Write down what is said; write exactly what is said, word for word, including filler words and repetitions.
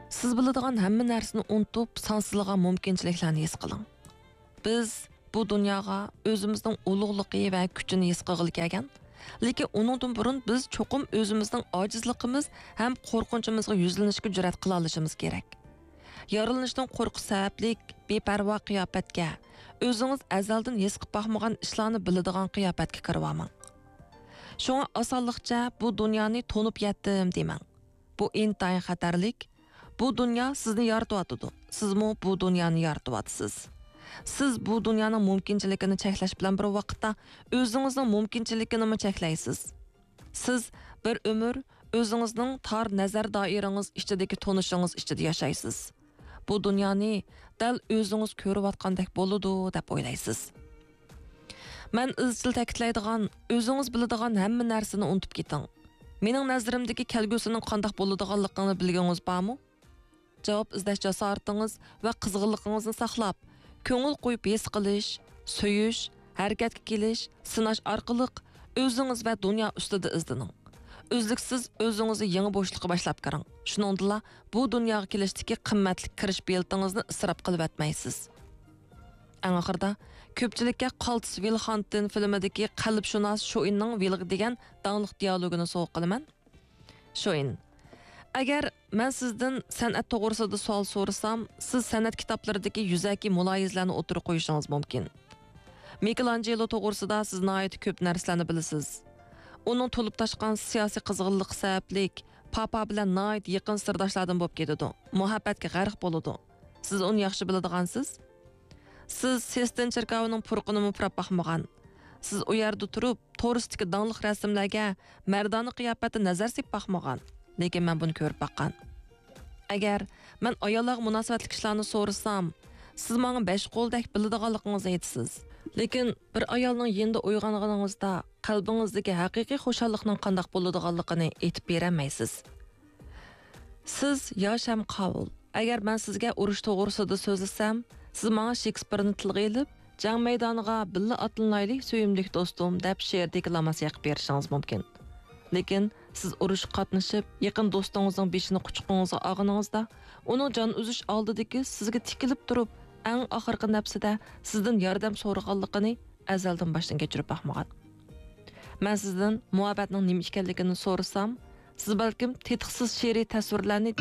سىز بىلىدىغان ھەممە نەرسىنى ئۇنتۇپ، سانسىزلىغان مۇمكىنچىلىكلەرنى ھېس قىلىڭ. بىز بۇ دۇنياغا ئۆزىمىزنىڭ ئۇلۇغلۇقى ۋە كۈچىنى ھېس قىلغىلى كەلگەن، لېكىن ئۇنىڭدىن بۇرۇن بىز چوقۇم ئۆزىمىزنىڭ ئاجىزلىقىمىز ھەم قورقۇنچىمىزغا يۈزلىنىشكە جۈرئەت قىلالىشىمىز كېرەك. يارىلىنىشنىڭ قورقۇسى سەۋەبلىك بىپەرۋا قىياپەتكە، ئۆزىڭىز ئەزەلدىن ھېس قىلىپ باقمىغان ئىشلارنى بىلىدىغان قىياپەتكە كىرىۋالماڭ. شۇڭا ئاسانلىقچە بۇ دۇنيانى تونۇپ يەتتىم دېمەڭ. بۇ ئىنتايىن خەتەرلىك. بۇ دۇنيا سىزنى يارىتىۋاتىدۇ. سىزمۇ بۇ دۇنيانى يارىتىۋاتىسىز. سىز بۇ دۇنيانىڭ مۇمكىنچىلىكىنى چەكلەش بىلەن بىر ۋاقىتتا ئۆزىڭىزنىڭ مۇمكىنچىلىكىنىمۇ چەكلەيسىز. سىز بىر ئۆمۈر ئۆزىڭىزنىڭ تار نەزەر دائىرىڭىز ئىچىدىكى تونۇشىڭىز ئىچىدە ياشايسىز. بۇ دۇنيانى دەل ئۆزىڭىز كۆرۈۋاتقاندەك بولىدۇ دەپ ئويلايسىز. مەن ئىزچىل تەكىتلەيدىغان، ئۆزىڭىز بىلىدىغان ھەممە نەرسىنى ئۇنتۇپ كېتىڭ. مېنىڭ نەزىرىمدىكى كەلگۈسىنىڭ قانداق بولىدىغانلىقىنى بىلگۈڭىز بارمۇ؟ جاۋاب ئىزدەش جاسارىتىڭىز ۋە قىزغىنلىقىڭىزنى ساقلاپ، كۆڭۈل قويۇپ ھېس قىلىش، سۆيۈش، ھەرىكەتكە كېلىش، سىناش ئارقىلىق ئۆزىڭىز ۋە دۇنيا ئۈستىدە ئىزدىنىڭ. ئۈزلۈكسىز ئۆزىڭىزنى يېڭى بوشلۇققا باشلاپ كىرىڭ. شۇنىڭدىلا بۇ دۇنياغا كېلىشتىكى قىممەتلىك كىرىش بېلىتىڭىزنى ئىسراپ قىلىۋەتمەيسىز. ئەڭ ئاخىرىدا، كۆپچىلىككە قالتىس ۋىل خانتىن فىلىمىدىكى قەلبشۇناس شوئىننىڭ ۋىلغا دېگەن داڭلىق دىيالوگىنى سوۋغا قىلىمەن. شوئىن، ئەگەر مەن سىزدىن سەنئەت توغرىسىدا سوئال سورىسام، سىز سەنئەت كىتابلىرىدىكى يۈزەكى مۇلاھىزىلەرنى ئوتتۇرىغا قويۇشىڭىز مۇمكىن. مىكېلانجېلو توغرىسىدا سىز ناھايىتى كۆپ نەرسىلەرنى بىلىسىز. ئۇنىڭ تولۇپ تاشقان سىياسىي قىزغىنلىقى سەۋەبلىك، پاپا بىلەن ناھايىتى يېقىن سىرداشلاردىن بولۇپ كېتىدۇ، مۇھەببەتكە غەرق بولىدۇ. سىز ئۇنى ياخشى بىلىدىغانسىز. سىز سېستىن چېركاۋىنىڭ پۇرىقىنىمۇ پۇراپ باقمىغان. سىز ئۇ يەردە تۇرۇپ، تورۇستىكى داڭلىق رەسىملەرگە مەردانە قىياپەتتە نەزەر سېلىپ باقمىغان. لېكىن مەن بۇنى كۆرۈپ باققان. ئەگەر مەن ئاياللارغا مۇناسىۋەتلىك ئىشلارنى سورىسام، سىز ماڭا بەش قولدەك بىلىدىغانلىقىڭىزنى ئېيتىسىز. لېكىن بىر ئايالنىڭ يېنىدا ئويغانغىنىڭىزدا قەلبىڭىزدىكى ھەقىقىي خۇشاللىقنىڭ قانداق بولىدىغانلىقىنى ئېيتىپ بېرەلمەيسىز. سىز ياش ھەم قاۋۇل. ئەگەر مەن سىزگە ئۇرۇش توغرىسىدا سۆزلىسەم، سىز ماڭا شېكسپىرنى تىلغا ئېلىپ، جەڭ مەيدانىغا بىللە ئاتلىنايلى، سۆيۈملۈك دوستۇم، دەپ شېئىردىكى لاماس يېقىپ بېرىشىڭىز مۇمكىن. لېكىن سىز ئۇرۇشقا قاتنىشىپ، يېقىن دوستىڭىزنىڭ بېشىنى قۇچىقىڭىزغا ئالغىنىڭىزدا، ئۇنىڭ جان ئۈزۈش ئالدىدىكى سىزگە تىكىلىپ تۇرۇپ، ئەڭ ئاخىرقى نەپسىدە سىزدىن ياردەم سورىغانلىقىنى ئەزەلدىن باشتىن كەچۈرۈپ باقمىغان. مەن سىزدىن مۇھەببەتنىڭ نېمە ئىكەنلىكىنى سورىسام، سىز بەلكىم تېتىقسىز شېئىرىي تەسۋىرلەرنى